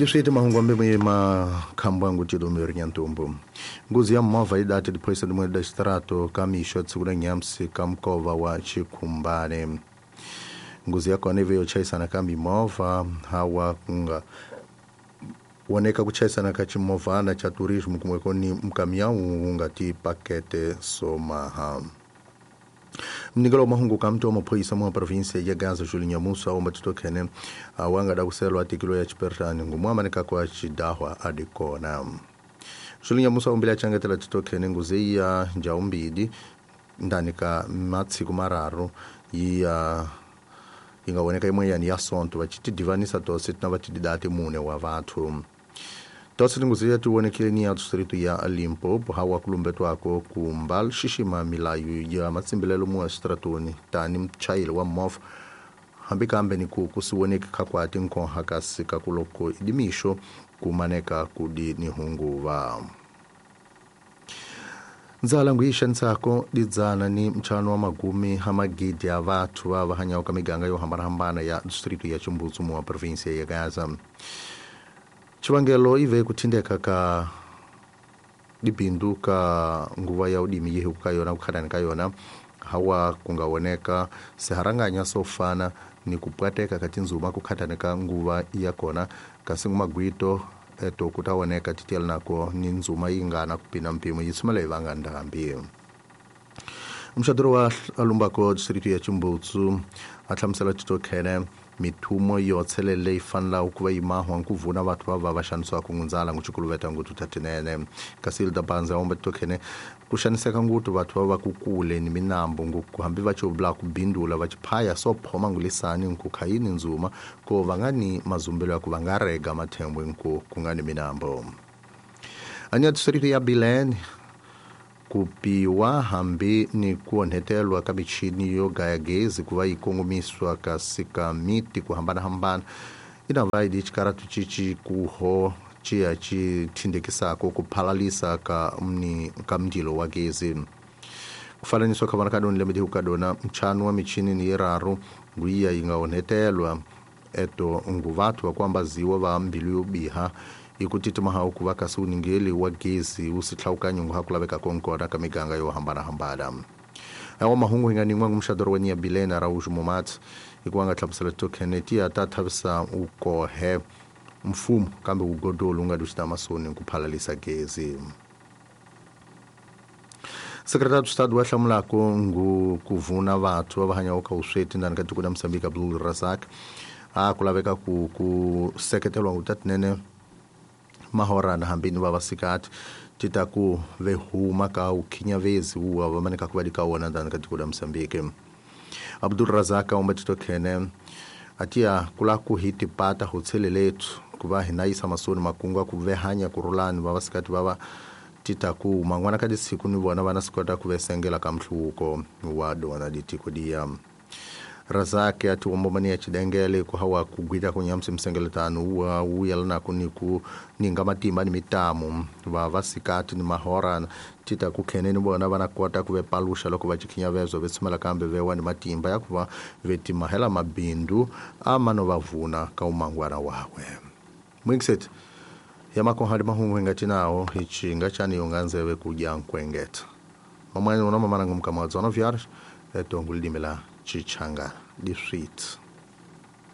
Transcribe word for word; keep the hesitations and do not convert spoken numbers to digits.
Diswiti mahungu ambe makhambwangu tidomeri nyantumbu. Nguzi ya movha yi dati diphoyisa limwe da xitarato ka mixo tsiku la nyamsi ka mukova wa Chikhumbane. Nguzi ya kona ive yo chayisana ka mimovha hawa kunga woneka ku chayisana ka chimovhana cha turismo kumwe koni mkamiau unga ti pakete somaha. Mnikelo mahungu kamto wa maphoyisa mwa provinsia ya Gaza Julinho Nyamusa omba titokhene awanga da kuselwa tikilo ya chipertani ngumwamanika kwa chidahwa adikona. Julinho Nyamusa umbile achangetela titokhene nguzi ya njaumbidi ndani ka matsiku mararu ya ingawoneka imwe yani ya sonto vachitidivanisa tose tina vatididati mune wa vathu. Tose tinguzi yatiwonekile ni ya distrito ya Limpopo hawa kulumbetwako kumbal xixima milayo ya matsimbilelo mua xitratoni tani mchayeli wa movha hambi kambe ni ku kusiwoneki khakwati nkonha kasi kakuloko idimixo kumaneka kudi ni hunguva. Ndzala ngu yi xanisako didzana ni mchano wa magumi ha magidi ya vathu va va hanyaka ka miganga yo hambanahambana ya distrito ya Chimbudzu mua provinsia ya Gaza. Chivangelo ive kuthindeka ka dibindu ka nguva ya udimi yehu ka yona kukhadani ka yona hawa kungawoneka siharanganya sofana ni kupwateka ka tinzuma kukhadani ka nguva ya kona kasi ngumagwito eto kutawoneka titela nako ni nzuma yingana kupina mpimo yitsumela ivanga ndambi. Mxadoro wa alumbako distrito ya Chimbudzu a hlamusela titokhene mithumo yo tshelele yi fanela ku va yimahwa nkuvuna vathu va va va xanisiwaka ngundzala nguchikuluveta ngutu tatinene kasi Hilda Banza omba titokhene ku xaniseka ngutu vathu va va kukule ni minambu nguku hambi va chobla ku bindula va chiphaya so phoma ngulisani nkukhayini nzuma ko va nga ni mazumbelo ya ku va nga rega mathembwe nku ku nga ni minambo. Anya distrito ya Bilene kupiwa hambi ni kuonhetelwa ka michini yo gaya gezi kuva yi kongomiswa kasi ka miti ku hambanahambana ina va yi xikaratu cici kuho ciya ci thindekisako ku phalalisa ka mni ka mndilo wa gezi. Ku fananiswa ka vana ka doni lembe ka dona mchano wa michini ni yiraru nguiya yi nga onhetelwa eto nguvathu wa kuambaziwa va mbilu yo biha ikutitima ha ku va kasi uningeli wa gezi wu sihlawukanyo ngu ha ku laveka konkona ka miganga yo hambanahambana. Awa mahungu hi nga nin'wa ngumxadoro wa nya Bilena Araújo Momat hikuva nga hlamusela tokhene ti ya ta thavisa ukohe mfumo kambe ugodolo nga duxita masoni ku phalalisa gezi. Secretário de Estado wa hlamulako ngu ku vuna vathu va va hanyaka ka vusweti ndani ka tiko la Mozambique Abdul Razak a ku laveka ku ku seketelwa ngutatinene mahorana hambini va vasikati tita ku ve huma ka ukhinyavezi uwa va maneka ku va di ka wona ndani ka tiko la Mozambique. Abdul Razak omba titokhene atia kula ku hiti pata ho tshelelethu ku va hina yisa masoni makungu ku ve hanya ku rulani va vasikati va va tita ku mangwana ka disiku ni vona vana sikota ku vesengela ka mhluko wa dona ditiko dia. Razak ati ombomani ya chidengele ku hawa kugwita kunyamsi msengeletano wa uyalana kuniku ninga matimba ni mitamu va vasikati ni mahorana tita kukheneni vona vana kota ku ve palusha loko va chikhinyavezo ve tsumela kambe vewa ni matimba ya ku va vetimahela mabindu amano va vuna ka umangwana wakwe. Mwingiset ya makohadi mahungu hingatinawo hichinga chani yonganzeve kudya nkwengeta. Mamani una mamana ngumkamadzo no viares etongulidimela Chichanga di sweet.